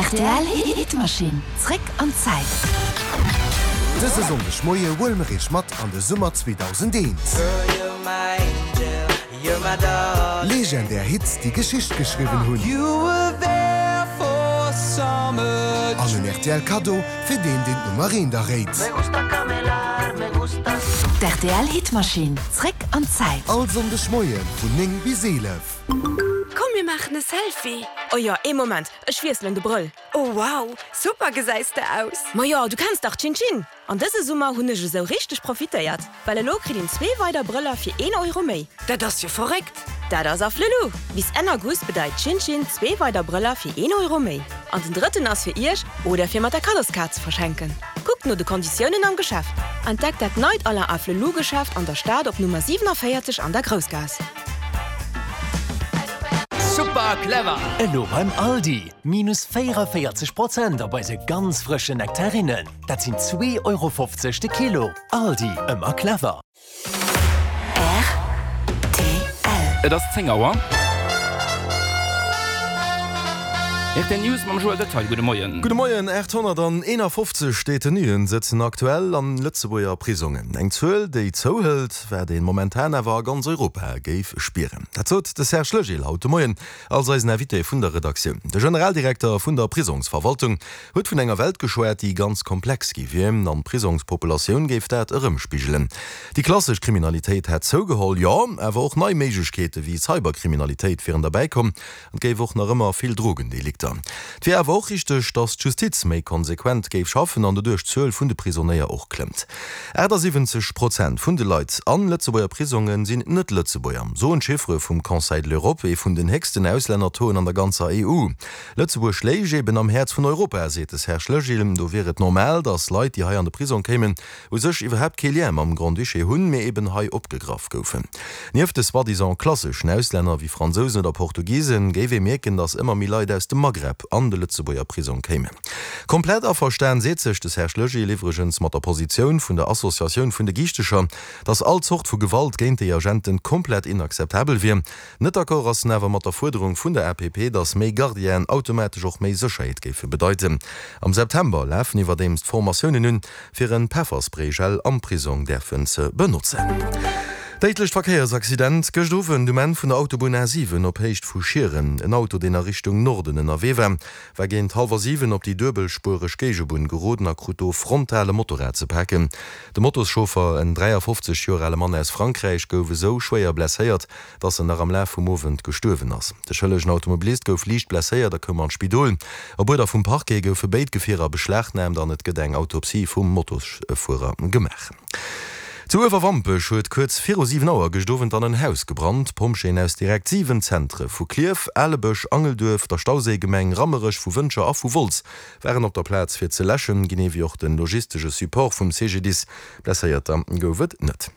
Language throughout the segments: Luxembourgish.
Rtl Hitmaschinn, zréck an d'Zäit. Dëse Sonndeg Moie huele mer iech mat an de Summer 2001. Legendär Hits, déi Geschicht geschriwwen hunn. An en rtl Kaddo fir deen, deen d'Nummer eent erréit. D'RTL Hitmaschinn, zréck an d'Zäit. All Sonndeg Moie vun 9 bis 11. Komm mir maachen e Selfie! Oh jo, ee Moment, ech wiesselen de Brëll. Oh wow, super gesäis de aus! Majo, du kenns dach Chin Chin! An dëse Summer hunn ech esou richteg profitéiert, well elo kritt een zwee weider Brëller fir een Euro méi. Dat ass jo verréckt! Dat ass Afflelou! Bis Enn August bedeit Chin Chin zwee weider Brëller fir een Euro méi. An den drëtten ass fir iech oder fir mat der Kaddoskaart ze verschenken. Kuckt no de Konditiounen am Geschäft. Entdeckt dat neit Alain Afflelou Geschäft an der Stad op Nummer 47 an der Groussgaass. Super clever! Elo beim Aldi, minus 44 Prozent op eise ganz frëschen Nektarinnen. Dat sinn 2,50 Euro de Kilo. Aldi, ëmmer clever! Rtl. Et ass 10 Auer. Rtl News mam Joël Detaille. Gudde Moien. Gudde Moien. 851 Detenuen sëtzen aktuell an Lëtzebuerger Prisongen. Eng Zuel, déi zouhëlt, wat ee momentan awer a ganz Europa géif spieren. Dat sot de Serge Legil haut de Moien als eisen Invité vun der Redaktioun. De Generaldirekter vun der Prisongsverwaltung huet vun enger Welt geschwat, déi ganz komplex gi wier, an d'Prisongspopulatioun géif dat erëmspigelen. Déi klassesch Kriminalitéit hätt zougeholl, jo, awer och nei Méiglechkeete wéi Cyberkriminalitéit wieren derbäi komm. Et géif och nach ëmmer vill Drogendelikter. Et wier awer och richteg, datt d'Justiz méi konsequent géif schaffen an doduerch d'Zuel vun de Prisonéier och klëmmt. 78 Prozent vun de Leit an Lëtzebuerger Prisonge sinn Net-Lëtzebuerger, soen d'Chiffere vum Conseil de l'Europe, ee vun den héchsten Auslännertauxen an der ganzer EU. Lëtzebuerg léich eben am Häerz vun Europa, seet de Serge Legil. Do wier et normal, datt Leit, déi hei an de Prisong kéimen, u sech iwwerhaapt kee Lien mam Grand-Duché hunn, mee eben hei opgegraff goufen. Nieft de soi-disant klasseschen Auslänner wéi Fransousen oder Portugisen, géif ee mierken, datt ëmmer méi Leit aus dem Maghreb an de Lëtzebuerger Prisong kéimen. Komplett averstan seet sech de Serge Legil iwwregens mat der Positioun vun der Associatioun vun de Giichtecher, datt all Zort vu Gewalt géint déi Agenten komplett inakzeptabel wier. Net d'accord ass en awer mat der Fuerderung vun der APP, datt méi Gardienen automatesch och méi Sécherheet géife bedeiten. Am September lafen iwwerdeems d'Formatiounen un, fir en Pefferspray-Gel am Prisong däerfen ze benotzen. Déidlecht Verkéiersaccident gëscht Owend um Enn vun der Autobunn A7 op Héicht vu Schieren. En Auto, deen a Richtung Norden ënnerwee war, war géint hallwer 7 op déi duebelspuereg Géigebunn geroden a krut do frontal e Motorrad ze paken. De Motoschauffer, en 53 Joer ale Mann aus Frankräich, gouf esou schwéier blesséiert, dass en nach am Laf vum Owend gestuerwen ass. De schëllegen Automobilist gouf liicht blesséiert a koum an d'Spidol. Op Uerder vum Parquet goufe béid Gefierer beschlagnaamt an et gëtt eng Autopsie vum Motosfuerer gemaach. Zu Uewerwampech huet kuerz viru 7 Auer gëscht Owend an en Haus gebrannt. Pompjeeën aus direkt 7 Zentre vu Klierf, Alebësch, Angelduerf, der Stauséigemeng, Rammerech, vu Wëntger a vu Wolz waren op der Plaz fir ze läschen, genee wéi och de logistesche Support vum CGDIS. Blesséierter gouf et net.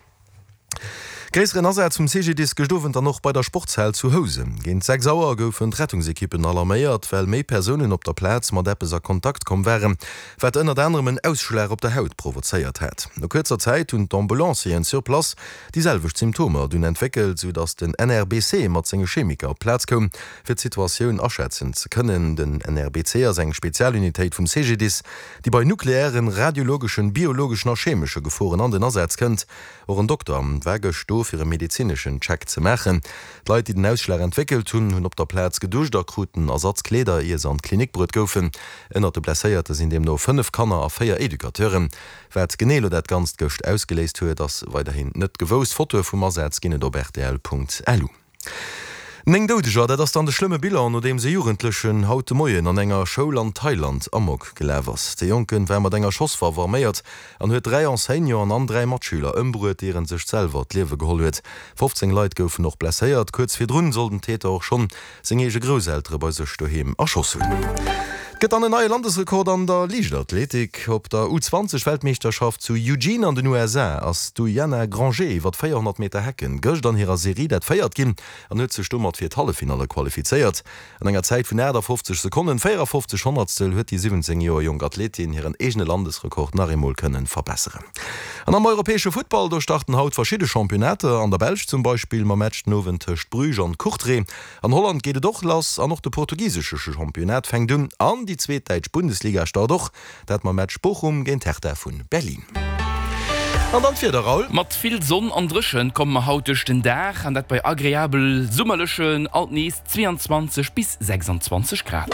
Gréisseren Asaz vum CGDIS gëscht Owend dann och bei der Sportshal zu Housen. Géint 6 Auer goufen d'Rettungsekippen alarméiert, well méi Persounen op der Plaz mat eppes a Kontakt komm waren, wat ënnert anerem en Ausschlag op der Haut provozéiert hat. No kuerzer Zäit hunn d'Ambulancieren sur place déi selwecht Symptomer dunn entwéckelt, sou datt den NRBC mat senge Chemiker op d'Plaz koum, fir d'Situatioun aschätzen ze kënnen. Den NRBC ass eng Spezialunitéit vum CGDIS, déi bei nukleären, radiologeschen, biologeschen a chemesche Geforen an den Asaz kënnt. Och en Dokter war gëscht do, fir e medezineschen Check ze maachen. D'Leit, déi den Ausschlag entwéckelt hunn, hunn op der Plaz geduscht a kruten Ersatzkleeder, ier se an d'Klinik bruet goufen. Ënnert de Blesséierte sinn deemno 5 Kanner a 4 Educateuren. Wat genee elo dat Ganzt gëscht ausgeléist huet, ass weiderhin net gewousst. Fotoe vum Asaz ginn et op rtl.lu. 9 Doudeger, dat ass dann de schlëmme Bilan, nodeems e Jugendlechen haut de Moien an enger Schoul an Thailand Amok gelaf ass. De Jonke war mat enger Schosswaff arméiert an huet 3 Enseignanten an 3 Matschüler ëmbruet, ier en sech selwer d'Liewe geholl huet. 15 Leit goufen och blesséiert. Kuerz virdrun soll den Täter och schonn seng eege Grousseltere bei sech doheem erschoss hunn. Et gëtt dann en neie Landesrekord an der Liichtathletik. Op der U20 Weltmeeschterschaft zu Eugene an den USA ass d'Uyana Granger iwwer 400 Meter Hecken gëscht an hirer Serie dat véiert ginn an huet sech domat fir d'Halleffinalle qualifizéiert. An enger Zäit vun 58 Sekonnen 54 Honnertstel huet déi 17 Joer jonk Athletin hiren eegene Landesrekord nach eemol kënnen verbesseren. An am europäesche Futtball, do starten haut verschidde Championnater, an der Belsch zum Beispill mam Match den Owend tëscht Bruges an Courtrai. An Holland geet et och lass an och de portugisesche Championnat fänkt un. An. An déi zweet däitsch Bundesliga start och, dat mam Match Bochum géint Hertha vun Berlin. An dann d'Wieder, Raoul. Mat vill Sonn an Dréchent komme mer haut duerch den Dag, an dat bei agreabel summerlechen, alt nees 22 bis 26 Grad.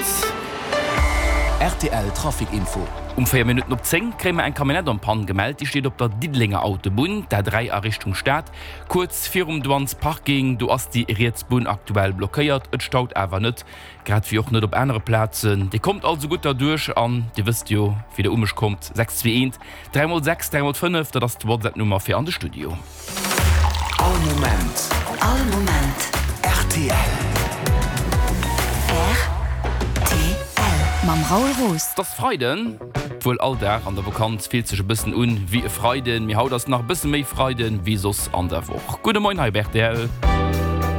Rtl Trafic Info. Um 4 Minutten op 10 kréie mer eng Camionnette en Panne gemellt. Déi steet op der Diddelenger Autobunn, d'A3 a Richtung Stad, kuerz virum Douanes Parking. Do ass déi riets Bunn aktuell blockéiert. Et staut awer net, grad wéi och net op anere Plazen. Dir kommt also gutt derduerch an Dir wësst jo, wéi Der u mech kommt, 6 2 1 3 mol 6 3 mol 5, dat ass d'WhatsApp-Nummer fir an de Studio. All Moment. All Moment. Rtl. Rtl. Mam Raoul Roos. Et ass Freiden, wuel all Dag an der Vakanz fillt sech e bëssen un wéi e Freiden, mee haut ass nach e bësse méi Freiden wéi soss an der Woch. Gudde Moien hei op rtl.